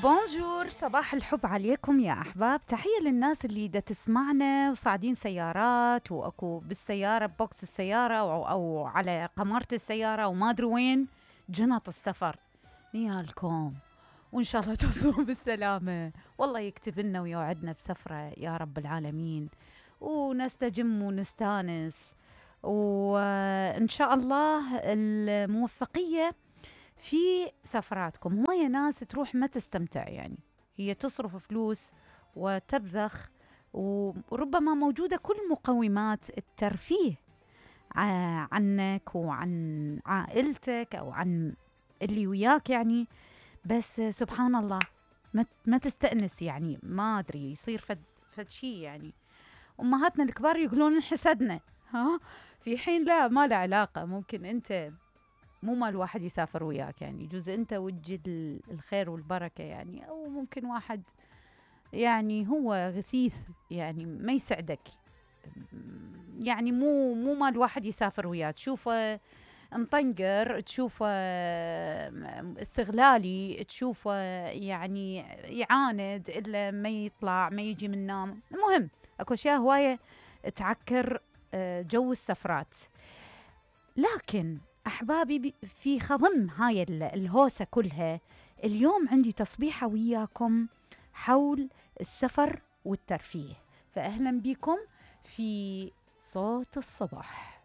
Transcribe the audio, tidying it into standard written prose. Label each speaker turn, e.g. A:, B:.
A: بونجور، صباح الحب عليكم يا أحباب. تحية للناس اللي دا تسمعنا وصاعدين سيارات وأكو بالسيارة بوكس السيارة أو على قمرة السيارة وما أدري وين جنط السفر. نيالكم وإن شاء الله توصلوا بالسلامة، والله يكتب لنا ويوعدنا بسفرة يا رب العالمين، ونستجم ونستانس، وإن شاء الله الموفقية في سفراتكم. هواية ناس تروح ما تستمتع، يعني هي تصرف فلوس وتبذخ، وربما موجودة كل مقومات الترفيه عنك وعن عائلتك أو عن اللي وياك، يعني بس سبحان الله ما تستأنس، يعني ما أدري يصير فد شي. يعني أمهاتنا الكبار يقولون انحسدنا، في حين لا، ما له علاقة. ممكن أنت مو مال واحد يسافر وياك، يعني يجوز أنت وجه الخير والبركة، يعني أو ممكن واحد يعني هو غثيث، يعني ما يسعدك، يعني مو مال واحد يسافر وياك. تشوفه مطنقر، تشوفه استغلالي، تشوفه يعني يعاند إلا ما يطلع ما يجي من نوم. المهم أكو أشياء هواية تعكر جو السفرات. لكن أحبابي، في خضم هاي الهوسة كلها، اليوم عندي تصبيحة وياكم حول السفر والترفيه. فأهلا بكم في صوت الصباح.